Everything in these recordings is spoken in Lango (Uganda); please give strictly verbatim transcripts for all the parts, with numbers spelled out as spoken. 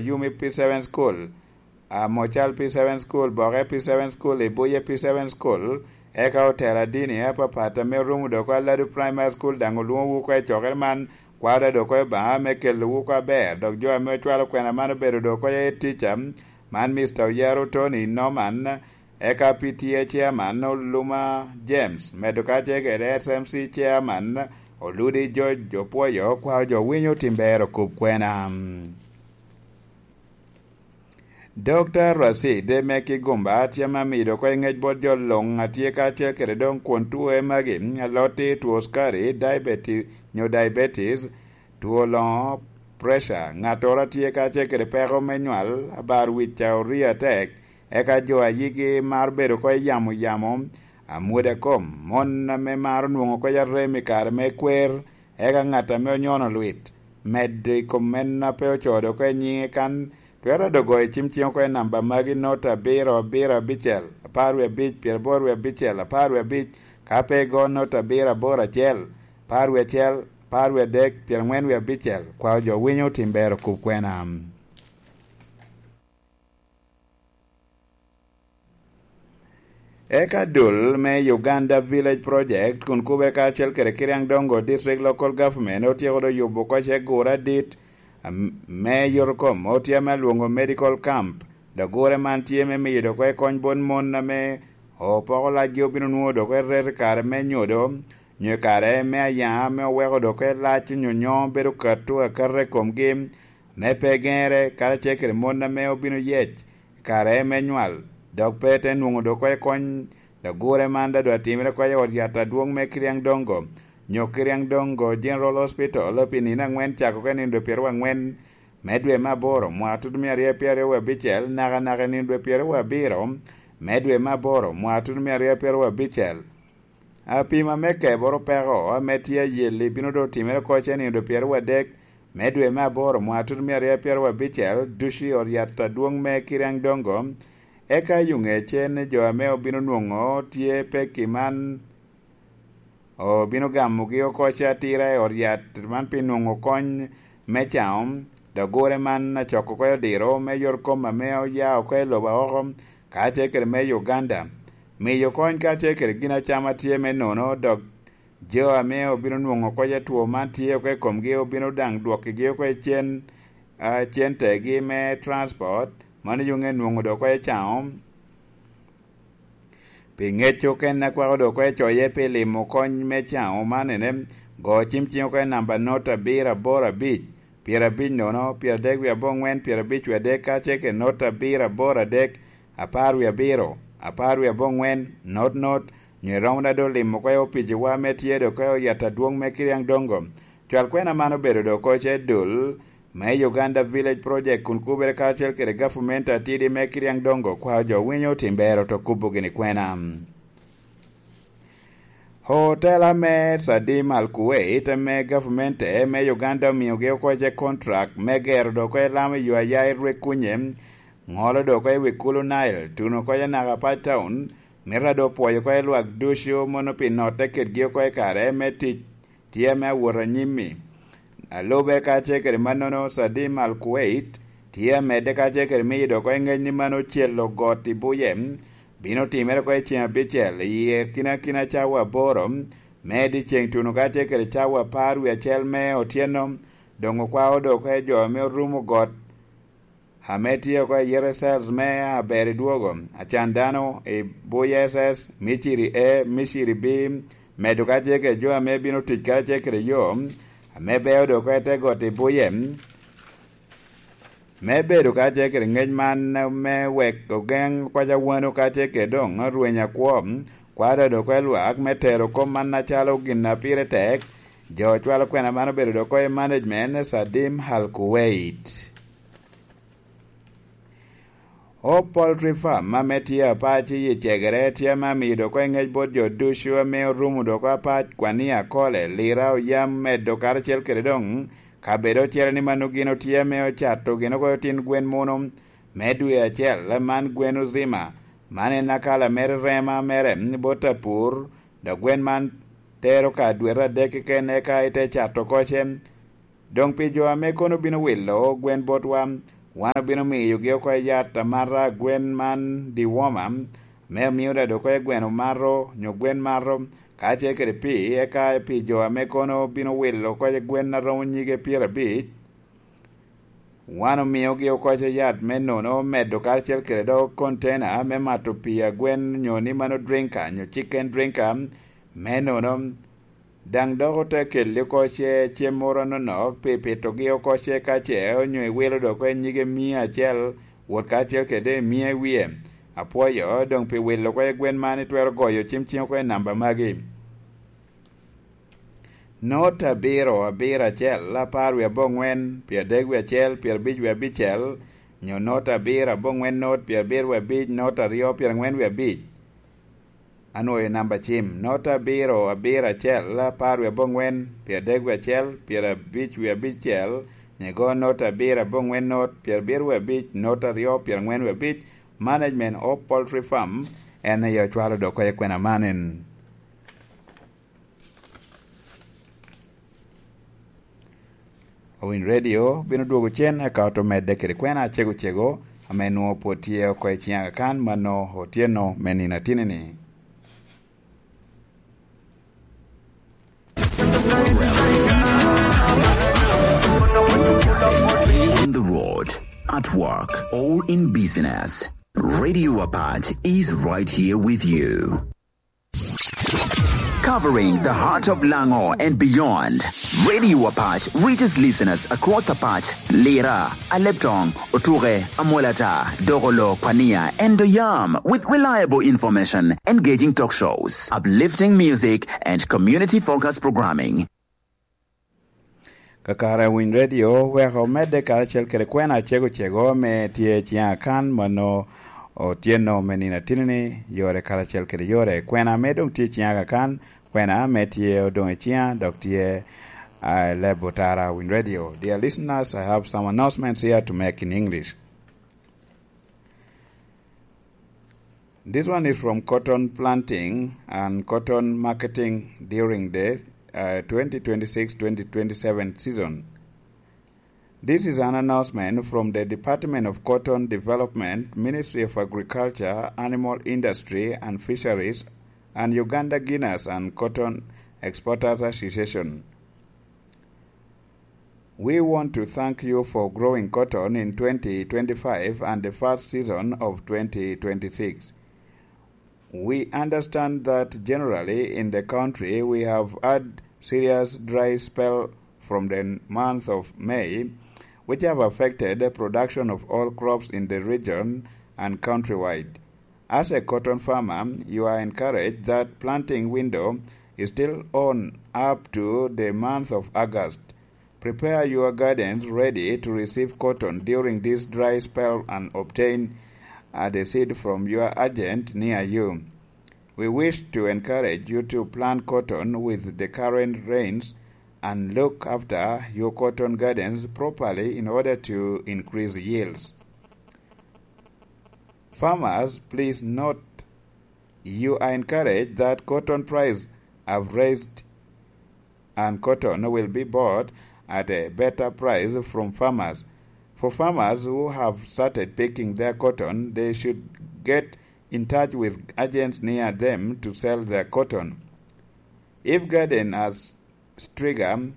Yumi P seven School, Amocal P seven School, Boke P seven School, Ibuye P seven School, eka otela dini apapat ame orumo dok Aladu Primary School daŋ olwoŋowu oko i cokere man, kwaro dok oko i Obaŋa me kelowu oko aber, dok jo ame ocwalo kwena man obedo dok oko i tica, man Mister Oyaro Tony Norman, eka P T A Chairman Oluma James, medo kacel kede S M C Chairman Oludi George Opwoyo, kwao jo winyo tim ber okub kwena. Dokta Racid me Kigumba tye ame amido oko i ngec bot jo luŋ a tye kacel kede doŋ kwon two magi, alotti, two sukari, diabetes, nyo diabetes, two loŋo, pressure, ŋattoro a tye kacel kede peko me nywal, abar wic a orii atek, eka jo a yigi maro bedo oko i yamo yamo, amwoda kom, mon ame maro nwoŋo oko i arem i kare me kwer, eka ŋat ame onyono lwit, medo i kom en a pe ocodo oko i nyiŋe kan, twero dogo i cim ciŋ oko i namba magi: nota abiro, abiro abicel, apar wie abic, pyeraboro wie abicel, apar wie abic, ka pe igo nota abiro, aboro acel, apar wie acel, apar wie adek, pyerangwen wie abicel, kwao jo winyo tim ber okub kwena. Eka dul me Uganda Village Project kun kubere karacel kede Kiriang Dongo District Local Government otyeko do yubo oko cegura adit, am-, me yotokom otye ame alwoŋo medical camp. Dok gure man tye me miyo dok oko kony bot mon ame opoko lacgi obino nwoŋo dok oko i reto i kare me nyodo, nyo i kare me ayaŋa ame oweko dok oko lac onyonyo bedo kato akata i komgi, me pe geŋere, karacel kede mon ame obino yec i kare me nywal, dok pe te nwoŋo dok oko i kony. Dok gure man daŋ doŋ atimere oko i ot yat adwoŋ me Kiriang Dongo, nyo Kiriang Dongo General Hospital, pi nino aŋwen cako oko i nino dwe pyeraryo angwen me dwe me aboro, mwaka tutumia aryo pyeraryo wie abicel, nakanaka i nino dwe pyeraryo wie abiro me dwe me aboro, mwaka tutumia aryo pyeraryo wie abicel. Apima me keboro peko ame tye ayelli bino doŋ timere oko cen i nino dwe pyeraryo adek me dwe me aboro, mwaka tutumia aryo pyeraryo abicel, ducu i ot yat adwoŋ me Kiriang Dongo. Eka yo ŋecce ni jo ame obino nwoŋo tye pekki man obino gamogi oko atira i ot yat man pi nwoŋo kony me caŋo, dok gure man acoko oko odiro me yot kom ame oya oko i lobo oko, kacel kede me Uganda. Miyo kony kacel kede gin acama tye me nono, dok jo ame obino nwoŋo oko i two man tye oko i komgi obino daŋ dwokkigi oko i cen, a, centegi me transport, mano yoŋe nwoŋo dok oko i caŋo. Pi ŋec okene akwako dok oko i coye pi limo kony me caŋo man ene, go cim ciŋ oko i namba not abiro aboro abic, pyerabic nono, pyeradek wie aboŋwen, pyerabic wie adek, kacel kede not abiro aboro adek, apar wie abiro, apar wie aboŋwen, not not, nyo iromo daŋ doŋ limo oko i opiciwa ame tye dok oko i yat adwoŋ me Kiriang Dongo. Cwal kwena man obedo dok oko ce dul me Uganda Village Project kun kubere karacel kede gavumenti atidi me Kiriang Dongo kwao jo winyo tim bero to kubo gini kwena. Hotela me Sadim Al Kuwait ame gavumenti me Uganda omiogi oko ce contract me gero dok oko i Lamu i yo aya i Rwek kunye, ŋolo dok oko i wi Kulu Nile, tuno oko i Naka Pac Town, mito a doŋ pwoyo oko i lwak ducu mono pi notte kedgi oko i kare me tic tye ame awot anyim-mi. A lube kacel kede mannono, Sadim Al Kuwait tye amedde kacel kede miyo dok oko i ŋec ni mano ocelo got i buye, bino timere oko i ceŋ abicel, i akinakina cawa aboro me dyeceŋ tuno kacel kede cawa apar wie acel me otyeno, doŋ okwao dok oko i jo ame orumo got ame tye oko i yero Sels me aber i dwogo, acan dano i buye S S, Miciri A, Miciri B, medo kacel kede jo ame bino tic karacel kede yo, ame beo dok oko i te got i buye, me bedo kacel kede ŋec man me wek ogeŋ kwac awano kacel kede doŋ rweny akwo, kwaro dok oko i lwak me tero kop man acalo gin a pire tek, jo ocwalo kwena man obedo dok oko i management Sadim Al Kuwait. O Poultry Farm ame tye apac i cegere tye ame amido oko i ŋec bot jo ducu ame orumo dok apac, kwania, kole, lira, oyam, medo karacel kede doŋ kabedo ocele ni mano gin otye ame ocato gin oko otin gwen muno me dwe acel, man gwen ozima. Man en akala mere rema mere bot apur, dok gwen man tero ka dwete adek keken eka ite cato oko ce. Doŋ pi jo ame kono bino wilo gwen botwa, Wan obino miyogi oko yat amata a gwen man dewormer, me omio dado oko gweno mato, nyo gwen mato, kacel kede pii, eka pi jo ame kono bino wilo oko gwen a romo nyige pyerabic. Wan omiogi oko yat me nono medo karacel kede dog kontena me mato pii a gwen, nyo ni mano drinker, nyo chicken drinker, me nono. Daŋ dok ote kelli oko ce cem moro anonok pi pitogi oko ce ka ce onyo iwilo dok oko i nyige mia acel, wot karacel kede mia i wie. Apwoyo doŋ pi wilo oko gwen man itwero goyo cim cim oko i namba magi. Not abiro abiro acel, apar wie aboŋwen, pyeradek wie acel, pyerabic wie abicel, nyo not abiro aboŋwen not, pyerabiro wie abic, not aryo, pyerangwen wie abic. Anwoyo namba cim, not abiro abiro acel, apar wie aboŋwen, pyeradek wie acel, pyerabic wie abicel, nyo igo not abiro aboŋwen not, pyerabiro wie abic, not aryo, pyerangwen wie abic. Management of Poultry Farm en aye ocwalo dok oko kwena man en. Owiny Radio bino dwogo cen eka oto medde kede kwena acego cego ame nwoŋo pwod tye oko i ciŋ Aga Khan mano otyeno me nino atini-ni. On the road, at work, or in business, Radio Apach is right here with you. Covering the heart of Lango and beyond, Radio Apach reaches listeners across Apach, Lira, Aleptong, Otuke, Amolata, Dogolo, Kwania, and Doyam with reliable information, engaging talk shows, uplifting music, and community-focused programming. Kakare Winy Radio weko omedde karacel kede kwena acego cego ame tye i ciŋa kan mano otyeno me nino atini-ni, yore karacel kede yore. Kwena ame doŋ tye i ciŋa kakan, kwena ame tye odoŋ i ciŋa dok tye i leb otara Winy Radio. Dear listeners, I have some announcements here to make in English. This one is from cotton planting and cotton marketing during the uh, twenty twenty-six twenty twenty-seven season. This is an announcement from the Department of Cotton Development, Ministry of Agriculture, Animal Industry and Fisheries, and Uganda Guinness and Cotton Exporters Association. We want to thank you for growing cotton in twenty twenty-five and the first season of twenty twenty-six. We understand that generally in the country we have had serious dry spell from the month of May, which have affected the production of all crops in the region and countrywide. As a cotton farmer, you are encouraged that planting window is still on up to the month of August. Prepare your gardens ready to receive cotton during this dry spell and obtain uh, the seed from your agent near you. We wish to encourage you to plant cotton with the current rains and look after your cotton gardens properly in order to increase yields. Farmers, please note you are encouraged that cotton price have raised and cotton will be bought at a better price from farmers. For farmers who have started picking their cotton, they should get in touch with agents near them to sell their cotton. If garden has striga,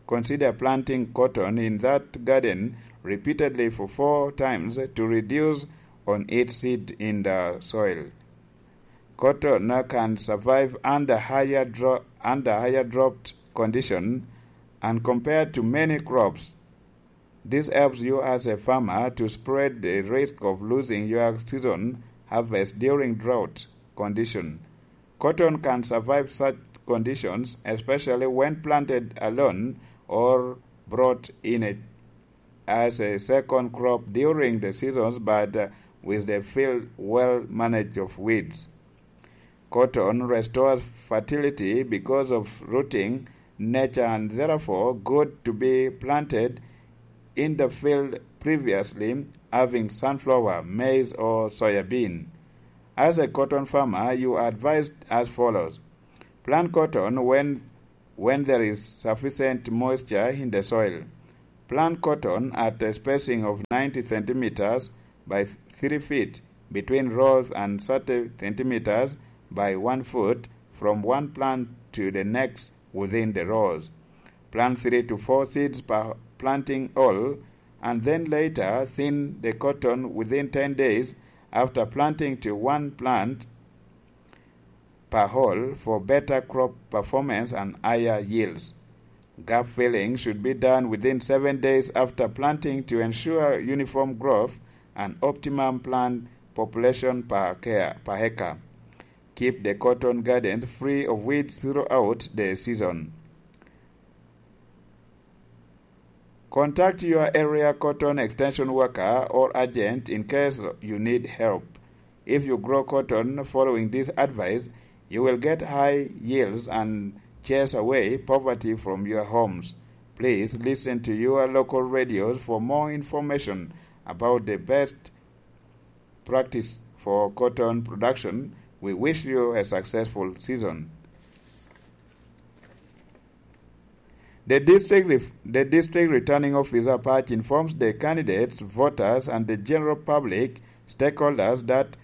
consider planting cotton in that garden repeatedly for four times to reduce on its seed in the soil. Cotton can survive under higher, dro- under higher drought condition and compared to many crops. This helps you as a farmer to spread the risk of losing your season harvest during drought condition. Cotton can survive such conditions, especially when planted alone or brought in a, as a second crop during the seasons, but uh, with the field well managed of weeds. Cotton restores fertility because of rooting nature and therefore good to be planted in the field previously having sunflower, maize, or soya bean. As a cotton farmer, you are advised as follows. Plant cotton when, when there is sufficient moisture in the soil. Plant cotton at a spacing of ninety centimeters by three feet between rows and thirty centimeters by one foot from one plant to the next within the rows. Plant three to four seeds per planting hole and then later thin the cotton within ten days after planting to one plant per hole for better crop performance and higher yields. Gap filling should be done within seven days after planting to ensure uniform growth and optimum plant population per acre. Per acre. Keep the cotton gardens free of weeds throughout the season. Contact your area cotton extension worker or agent in case you need help. If you grow cotton following this advice, you will get high yields and chase away poverty from your homes. Please listen to your local radios for more information about the best practice for cotton production. We wish you a successful season. The district, ref- the district returning officer Patch informs the candidates, voters, and the general public stakeholders that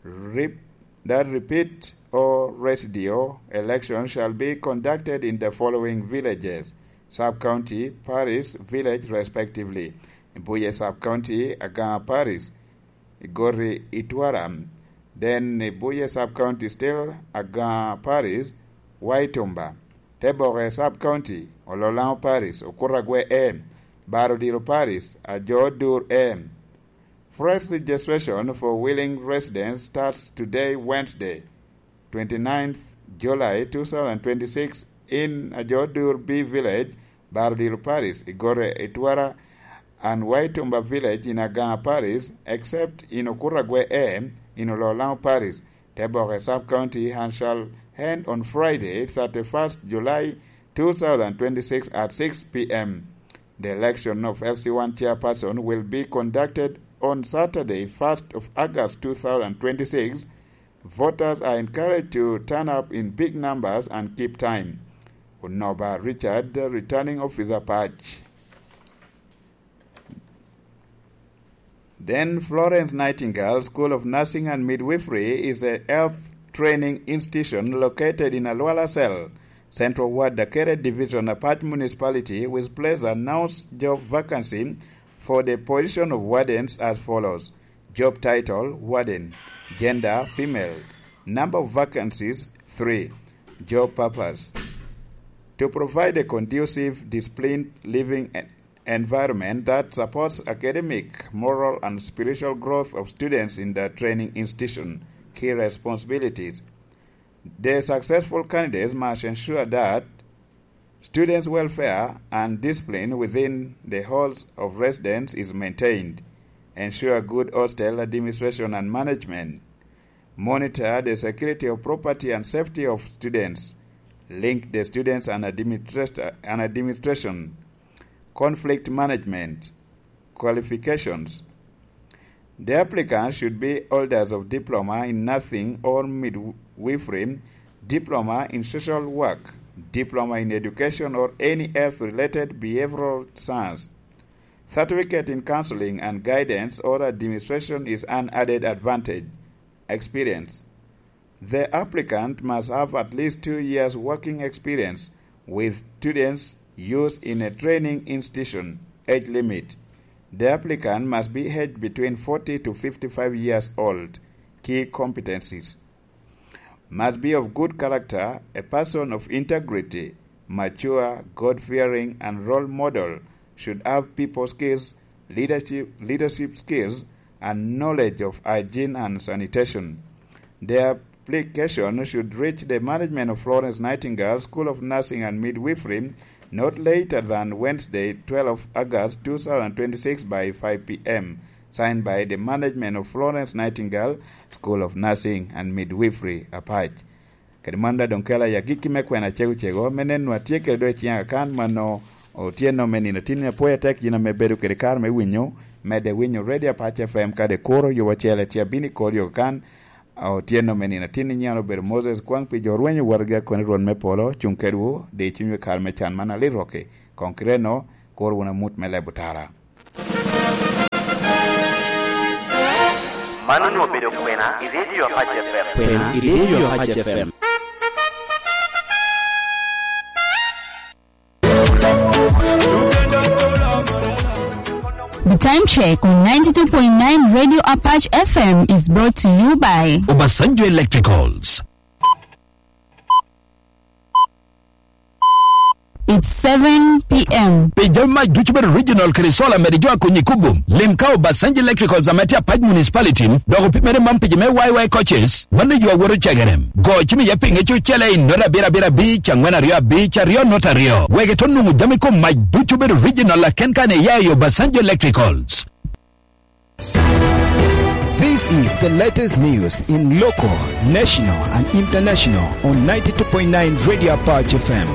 rep- that repeat or residual election shall be conducted in the following villages, sub-county, parish, village, respectively. Buye sub-county, Aganga parish, Igori, Itwara. Then Buye sub-county still, Aganga parish, Waitumba. Teboke sub-county, Ololamo parish, Okuragwe A. Barodiro parish, Ajo Dur A. First registration for willing residents starts today, Wednesday, twenty-ninth July two thousand twenty-six, in Ajo Dur B village, Barodiro parish, Igori, Itwara, and Waitumba village in Aganga parish, except in Okuragwe A in Ololamo parish, Teboke sub-county, and shall end on Friday, thirty-first July two thousand twenty-six at six p.m. The election of L C one chairperson will be conducted on Saturday, first of August two thousand twenty-six. Voters are encouraged to turn up in big numbers and keep time. Onoba Richard, returning officer, Patch. Then Florence Nightingale School of Nursing and Midwifery is a health training institution located in Alwala Cell, Central Ward, Dakere Division, Apac Municipality, with place announced job vacancy for the position of wardens as follows. Job title, warden. Gender, female. Number of vacancies, three. Job purpose. To provide a conducive, disciplined living environment that supports academic, moral, and spiritual growth of students in the training institution. Key responsibilities. The successful candidates must ensure that students' welfare and discipline within the halls of residence is maintained, ensure good hostel administration and management, monitor the security of property and safety of students, link the students and administrat-, and administration, conflict management, qualifications. The applicant should be holders of diploma in nursing or midwifery, diploma in social work, diploma in education or any health-related behavioral science. Certificate in counseling and guidance or administration is an added advantage. Experience. The applicant must have at least two years working experience with students used in a training institution. Age limit. The applicant must be aged between forty to fifty-five years old. Key competencies. Must be of good character, a person of integrity, mature, God-fearing, and role model, should have people skills, leadership, leadership skills, and knowledge of hygiene and sanitation. The application should reach the management of Florence Nightingale School of Nursing and Midwifery not later than Wednesday, twelfth of August two thousand twenty-six, by five p.m. Signed by the management of Florence Nightingale School of Nursing and Midwifery, Apac. Kadi man da doŋ kela i agikki me kwena cego cego, me neno a tye kede do i ciŋ akan mano otyeno me nino tin apwoya tek yin ame bedo kede kare me winyo, medde winyo Radio Apac F M kade kuro yubo acel etye abino i kor yo kan. Otyeno me nino tin inyalo bedo Moses kwaŋ pi jo rwenyo wotgi akoni Rwot me polo cuŋ kedwu, di cunywu i kare me can man alit rokki. Koŋ kireno, Kur wunu amut me lebo tara. Man onwoŋo obedo kwena i Radio Apac F M. Kwena i Radio Apac F M. The time check on ninety-two point nine Radio Apache F M is brought to you by Obasanjo Electricals. It's seven p m. Pi jami mac ducu bedo regional kede solar medo jo akonyi kubo. Lim ka Obasanjo Electricals ame tye Apac Municipality, dok opimere man pi jo me Y Y coaches, mano yo awoto cegerem. Go cim iye pinge ci ocele i nota abiro abiro abic, angwen aryo abic, aryo nota aryo. Wek ito nwoŋo jami kom mac ducu bedo regional aken kan iya i Obasanjo Electricals. This is the latest news in local, national, and international on ninety-two point nine Radio Apache F M.